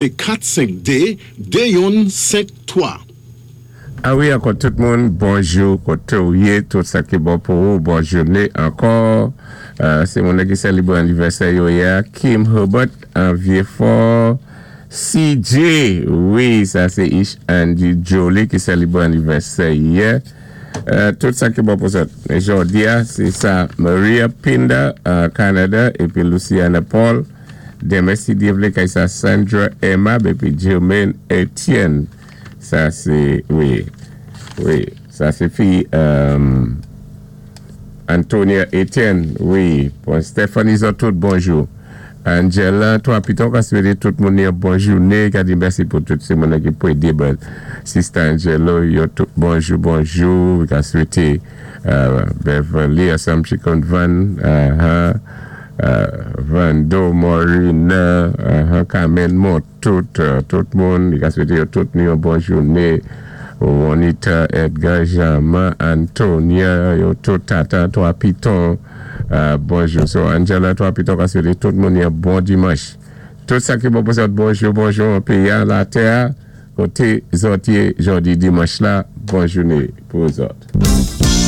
4 5 2 2 yonn 5 3. A wi ankò tout moun bonjou kotew ye tout sa ki bon pou ou bon jouné ankò se moun ki selebre anivèsè yo yè a Kim Herbert an Vyefò CJ wi sa se Ish Andy Joly ki selebre anivèsè yè tout sa ki bon pou zòt jodi a se sa Maria Pinda Canada epi Luciana Paul. Denmen si Dye vle kay sa Sandra Aimable epi Germaine Etienne sa se wi wi sa se fi Antonia Etienne wi bon Stephanie zòt tout bonjou Angela 3 piton ka swete tout moun yon bon joune ka di mèsi pou tout se moun ki pwede ban sista Angelo yo tout bonjou bonjou ka swete Beverly ansanm Chicken Van Vando Morina Carmen Montout tout moun li ka swete yo tout nou yon bon joune Juanita Edgar Jeanma Antonia yo tout Tata 3 piton bonjou so Angela 3 piton ka swete tout moun yon bon dimanch tout sa ki bon pou zòt bonjou bonjou an peyi a latè a kote zòt ye jodi dimanch la bon joune pou zòt.